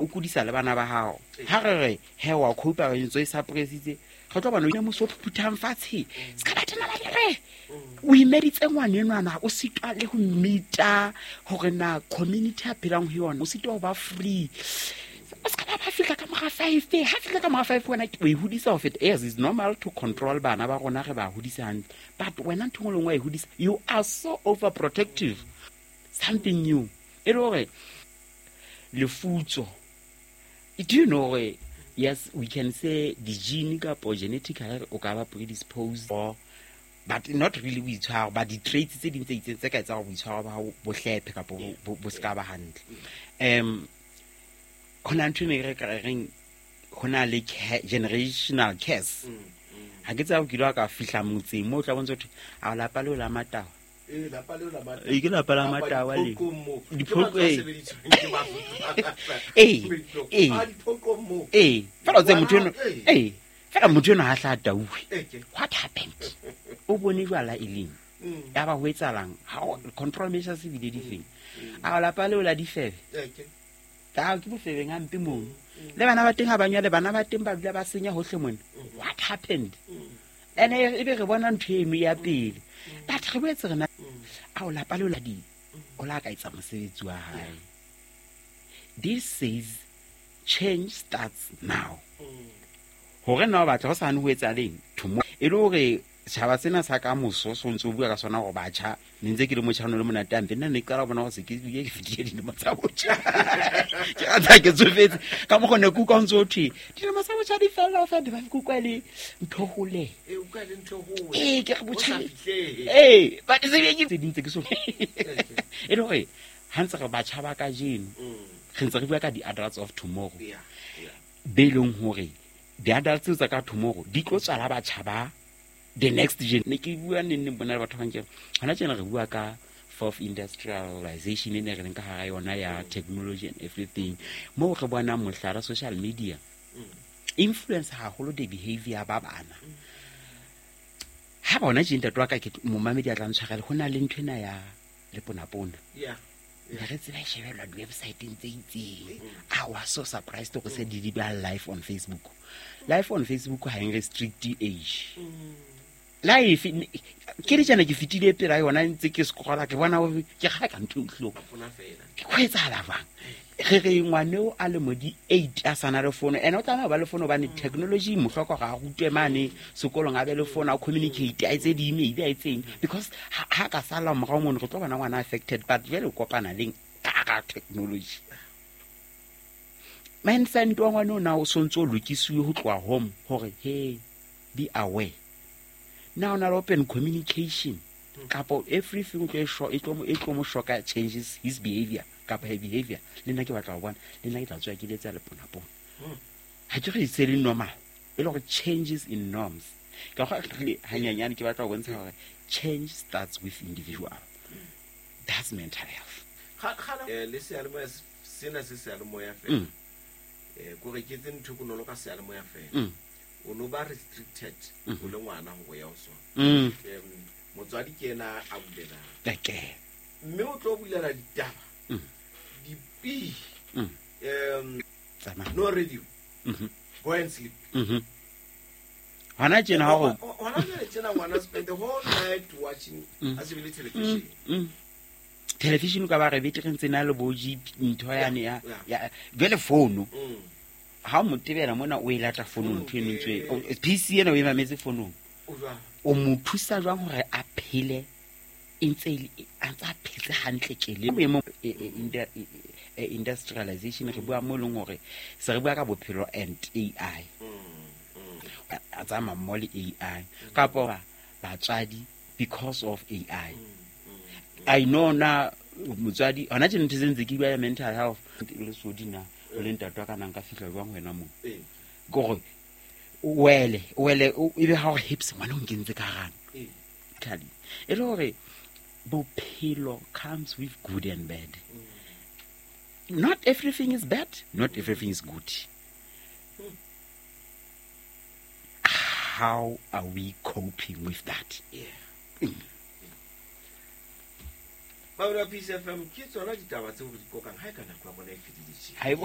O kodisa le bana ba gago ga re re he wa copa re ntse e suppressitse re tlo bona o moso o phuphuthang fatshe se ka batho ba re o imeditse ngwanenwana o sitwa le go mmita gore na community a phelang go yona o sitwa go ba free o se ka ba ba fitlha ka moga 5 ha fitlha ka moga 5 wena o e hodisa go feta. Yes, it's normal to control bana ba rona, re ba hodisa hantle, but wena ntho engwe le nngwe wa e hodisa, you are so overprotective. Something new e le gore lefutso, do you know gore yes, we can say di-gene kapo genetically o ka ba predisposed or but not really boitshwaro, but di-traits tse ding tse itseng tse ka etsang gore boitshwaro ba hao bo hlephe kapo bo se ka ba hantle. Ho na ntho e ne re ka reng ho na le generational curse. Ha ke tseba o kile wa ka fihla motseng moo o tla bontsha thwe a lapa leo la Matawa. Ee, lapa leo la Matawa. Ee, ke lapa la Kapa Matawa le. diphoqong moo. Ke Diphoqo, mantswe a ee. sebediswang ke Basotho ba bangata. Ee, Meetlong. ee. A diphoqong moo. Ee, fela o tsebe motho eno, Ngwana, ee. ee, fela motho eno ha hla a tauwe. Ee, ke. What happened? O bone jwala e leng? Ya ba ho etsahalang? Ha o control measures ebile di feng? A lapa leo la difebe. Ee, ke. Ka ke bofebeng hampe mono. Le bana ba teng ha ba nyale, bana ba teng ba dula ba senya hohle mona. What happened? Ene e be re bona ntho eno ya pele. But re boetse re na a o lapa leo la di o la ka etsa mosebetsi wa hae. This says change starts now. Hore na o batla ho sane ho etsa leng tomorrow. E le hore setjhaba sena sa ka moso so ntse o bua ka sona hore batjha ne ntse ke le motjha ono le monate hampe, nna ne ke qala ho bona hore se ke bile ke fetile dilemo tsa botjha. Ke rata ke tsofetse ka mokgwa ne ke utlwa ho ntse ho thwe dilemo tsa botjha di fella ho fela, ba ke utlwa e le ntho hole. Ee, utlwa e le ntho hole. Ee, ke re O botjha sa fihlehe. Ee, but se be ke tse ding tse ke so e le hore ha ntse re batjha ba kajeno re ntse re bua ka di-adults of tomorrow. Be leng hore di-adults tseo tsa ka tomorrow di tlo tswala batjha ba the next gen. Ne ke bua neng neng bona le batho ba bang ke re, hona tjena re bua ka fourth industrialization e ne re leng ka hara yona ya technology and everything. Moo re bonang mohlala social media influence haholo the behavior ba bana. Ha bona tje ntate wa ka ke momamedi a tla ntshwarela, ho na le ntho ena ya leponapona. Ne re tseba e shebellwa di-website-eng tse itseng. I was so surprised hore se di ba live on Facebook. Live on Facebook ha e restrict age. Live ke le tjena ke fetile pela yona ntse ke scrolla ke bona hore ke kgale ka ntho e utlwileng. Bona fela. Ke ho etsahala jwang? Re re ngwaneo a le mo di 8 a sana le fono, ene o tlameha ho ba le fono hobane technology mo hloka hore a rutwe mane sekolong, a be le fono, a communicate, a etse di-email, a etseng, because ha ka sala morao mono re tlo bona ngwana affected. But jwale o kopana leng ka hara technology? Mindset wa ngwana ona o sontso o lokisiwe ho tloha home hore hey, be aware. Now na open communication kapo everything o tlo e e tlo mo, e tlo mo shoka, changes his behavior kapa her behavior. Le nna ke batla ho bona, le nna ke tla tswa ke letsa leponapona. Ha ke re se le normal, e le hore changes in norms. Ka go re hanyanyane ke batla ho bontsha hore change starts with individual. That's mental health. Ga, le seyalemoya sena se seyalemoya fela. Ko re ke tse ntho bonolo ka seyalemoya fela. O no ba restricted o le ngwana ho ya ho sona. Motswadi ke yena a bulelang. Okay. Mme o tlo bulela ditaba. Dipi. Tsamaya. No radio. Go and sleep. Hona tjena ha ho Hona jwale tjena ngwana spend the whole night watching a shebile television. Television ka ba re betere ntse na le bo G ntho yane ya, ya, jwale fono. Ha o mo tebela mona o e lata fonong ntho eno ntse e, o, PC ena o e mametse fonong. O jwang? O mo thusa jwang hore a phele e ntse e le, a ntse a phetse hantle ke le boemong, e, e, e, e, industrialization re bua mo e leng hore se re bua ka bophelo and AI. A tsamaya mmoho le AI. Kapa batswadi because of AI. I know na motswadi hona tjena ntho tse ntse ke bua ya mental health le sodi na o le ntate wa ka nang ka fihla jwang wena moo? Ke hore wele, wele, o, ebe ha o re hips ngwana o nkentse ka hara. Tali. E le hore bophelo comes with good and bad. Not everything is bad, not everything is good. How are we coping with that? Ba bua Peace FM ke tsona ditaba tseo re di kokang ha e ka nako ya rona e fedile tje. Ha e bo-